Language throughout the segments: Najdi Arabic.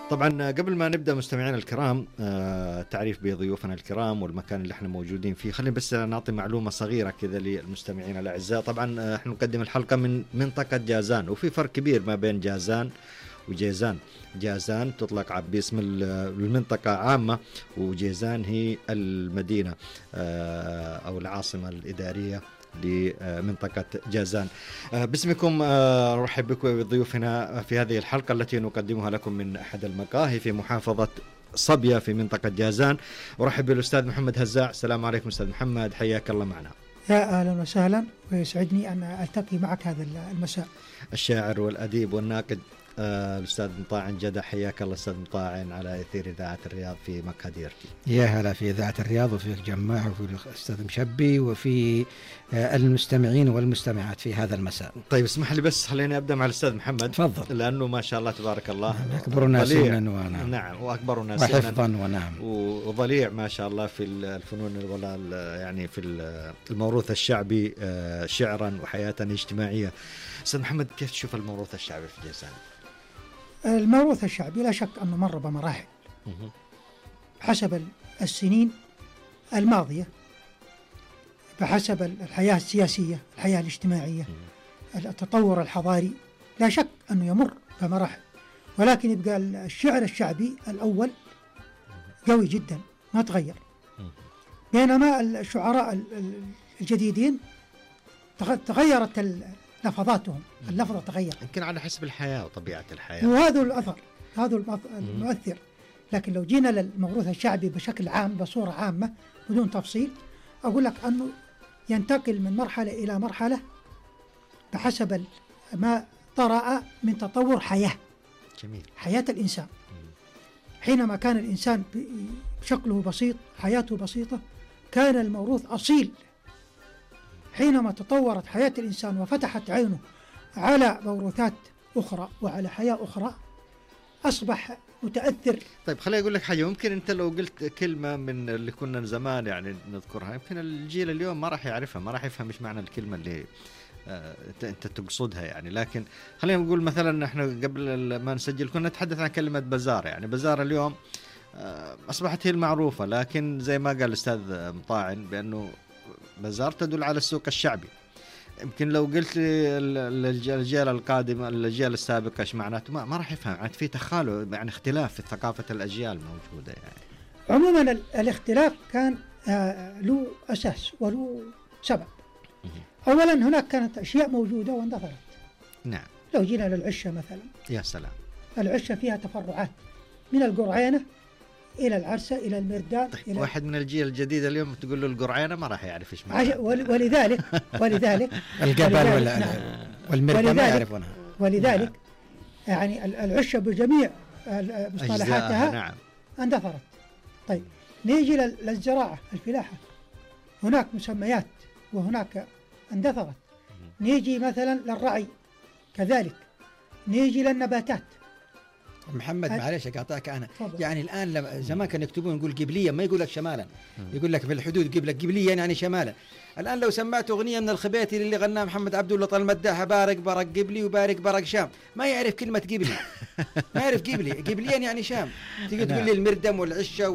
طبعا قبل ما نبدأ مستمعينا الكرام تعريف بضيوفنا الكرام والمكان اللي احنا موجودين فيه، خلينا بس نعطي معلومة صغيرة كذا للمستمعين الأعزاء. طبعا احنا نقدم الحلقة من منطقة جازان، وفي فرق كبير ما بين جازان وجيزان. جازان تطلق باسم المنطقة عامة، وجيزان هي المدينة أو العاصمة الإدارية لمنطقة جازان. باسمكم نرحب بكم بضيوفنا في هذه الحلقة التي نقدمها لكم من أحد المقاهي في محافظة صبية في منطقة جازان. أرحب بالأستاذ محمد هزاع. السلام عليكم أستاذ محمد، حياك الله معنا. يا أهلا وسهلا، ويسعدني أن ألتقي معك هذا المساء. الشاعر والأديب والناقد الأستاذ مطاعن جدع، حياك الله أستاذ مطاعن على أثير إذاعة الرياض في مكادير. يا هلا في إذاعة الرياض وفي الجماعة وفي الأستاذ مشبي وفي المستمعين والمستمعات في هذا المساء. طيب اسمح لي بس خليني أبدأ مع الأستاذ محمد. تفضل. لأنه ما شاء الله تبارك الله أكبرنا سنا ونعم. نعم، وأكبرنا سنا وحفظا ونعم، وضليع ما شاء الله في الفنون يعني في الموروث الشعبي شعرا وحياة اجتماعية. أستاذ محمد، كيف تشوف الموروث الشعبي في جازان؟ الموروث الشعبي لا شك أنه مر بمراحل حسب السنين الماضية، بحسب الحياة السياسية، الحياة الاجتماعية، التطور الحضاري، لا شك أنه يمر بمراحل، ولكن يبقى الشعر الشعبي الأول قوي جدا ما تغير، بينما الشعراء الجديدين تغيرت لفظاتهم، اللفظة تغير يمكن على حسب الحياة وطبيعة الحياة، وهذا الأثر، هذا المؤثر. لكن لو جينا للموروث الشعبي بشكل عام بصورة عامة بدون تفصيل، أقول لك أنه ينتقل من مرحلة إلى مرحلة بحسب ما طرأ من تطور حياة. جميل. حياة الإنسان حينما كان الإنسان بشكله بسيط، حياته بسيطة، كان الموروث أصيل. حينما تطورت حياة الإنسان وفتحت عينه على موروثات أخرى وعلى حياة أخرى، أصبح متأثر. طيب خليني أقول لك حاجة، ممكن أنت لو قلت كلمة من اللي كنا زمان يعني نذكرها، يمكن الجيل اليوم ما راح يعرفها، ما راح يفهم إيش معنى الكلمة اللي أنت تقصدها يعني. لكن خلينا نقول مثلا إحنا قبل ما نسجل كنا نتحدث عن كلمة بزار. يعني بزار اليوم أصبحت هي المعروفة، لكن زي ما قال الأستاذ مطاعن بأنه بزار تدل على السوق الشعبي. يمكن لو قلت للأجيال القادمة، الأجيال السابقة إيش معناته، ما راح يفهم. يعني في تخالف، يعني اختلاف في ثقافة الأجيال موجودة يعني. عموما الاختلاف كان له أساس وله سبب. أولا هناك كانت أشياء موجودة واندثرت. نعم. لو جينا للعشة مثلا، يا سلام، العشة فيها تفرعات من القرعينة إلى العرسة إلى المردان. طيب إلى واحد من الجيل الجديد اليوم تقول له القرعينة ما راح يعرف إيش معناها. ولذلك الجبل والمردان ما يعرفونها. ولذلك يعني العشة بجميع مصطلحاتها نعم اندثرت. طيب نيجي للزراعة، الفلاحة، هناك مسميات وهناك اندثرت. نيجي مثلا للرعي كذلك، نيجي للنباتات. محمد معلش اقاطعك انا. يعني الان زمان كانوا يكتبون يقول قبليا، ما يقول لك شمالا، يقول لك في الحدود قبليا يعني شمالا. الان لو سمعت اغنيه من الخبيتي اللي غناها محمد عبد الله طال المداحه، بارك برق قبلي وبارك برق شام، ما يعرف كلمه قبلي، ما يعرف قبليا يعني شام. تيجي تقول لي المردم والعشه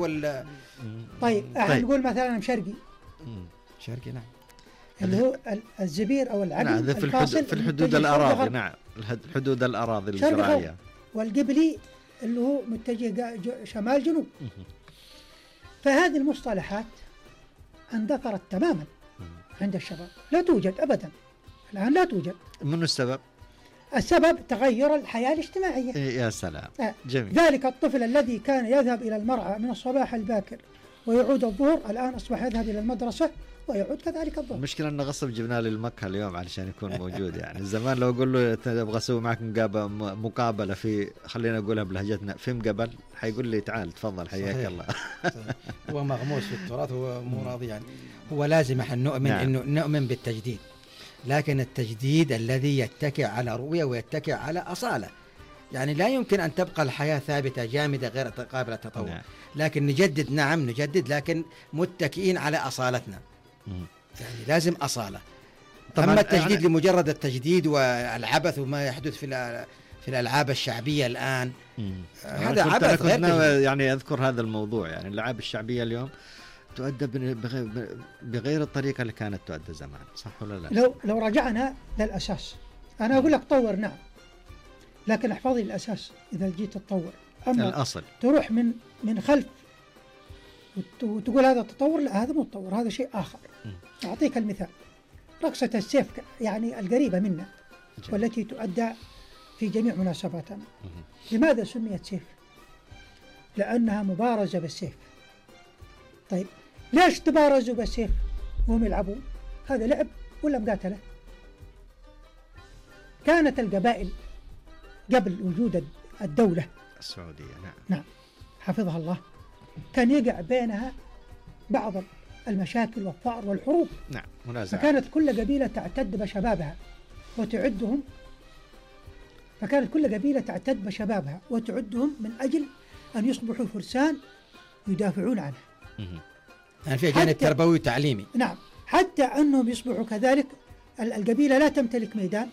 طيب نقول مثلا شرقي نعم، اللي هو الزبير او العقل. نعم، في الحدود الاراضي. نعم، الحدود الاراضي الزراعيه. والقبلي اللي هو متجه شمال جنوب. فهذه المصطلحات اندثرت تماما عند الشباب، لا توجد ابدا الان، لا توجد. من السبب؟ السبب تغير الحياه الاجتماعيه. يا سلام. جميل. ذلك الطفل الذي كان يذهب الى المرعى من الصباح الباكر ويعود الظهر، الان اصبح يذهب الى المدرسه ويعود كذلك الظهر. المشكلة أنه غصب جبناه للمقهى اليوم علشان يكون موجود. يعني زمان لو أقول له أبغى أسوي معك مقابلة في، خلينا نقولها بلهجتنا، في مقبل، حيقول لي تعال تفضل حياك الله. هو مغموس في التراث، هو مو راضي. يعني هو لازم احنا نؤمن. نعم. إنه نؤمن بالتجديد، لكن التجديد الذي يتكئ على رؤية ويتكئ على أصالة. يعني لا يمكن أن تبقى الحياة ثابتة جامدة غير قابلة للتطور. نعم. لكن نجدد، نعم نجدد، لكن متكئين على أصالتنا. يعني لازم أصالة. أما التجديد يعني لمجرد التجديد والعبث وما يحدث في الألعاب الشعبية الآن. هذا عبث غير يعني أذكر هذا الموضوع، يعني الألعاب الشعبية اليوم تؤدى بغير الطريقة اللي كانت تؤدى زمان، صح ولا لا؟ لو رجعنا للأساس، أنا أقول لك طور نعم، لكن احفظي الأساس إذا جيت تطور. أما الأصل تروح من خلف وتقول هذا تطور، لا هذا مو تطور، هذا شيء آخر. أعطيك المثال، رقصة السيف يعني القريبة منا والتي تؤدى في جميع مناسباتنا. لماذا سميت سيف؟ لأنها مبارزة بالسيف. طيب ليش تبارزوا بالسيف وهم يلعبون؟ هذا لعب ولا مقاتلة؟ كانت القبائل قبل وجود الدولة السعودية نعم حفظها الله، كان يقع بينها بعض المشاكل والفقر والحروب. نعم منازعة. فكانت كل قبيلة تعتد بشبابها وتعدهم، من أجل أن يصبحوا فرسان يدافعون عنها. يعني في جانب تربوي وتعليمي. نعم، حتى أنهم يصبحوا كذلك. القبيلة لا تمتلك ميدان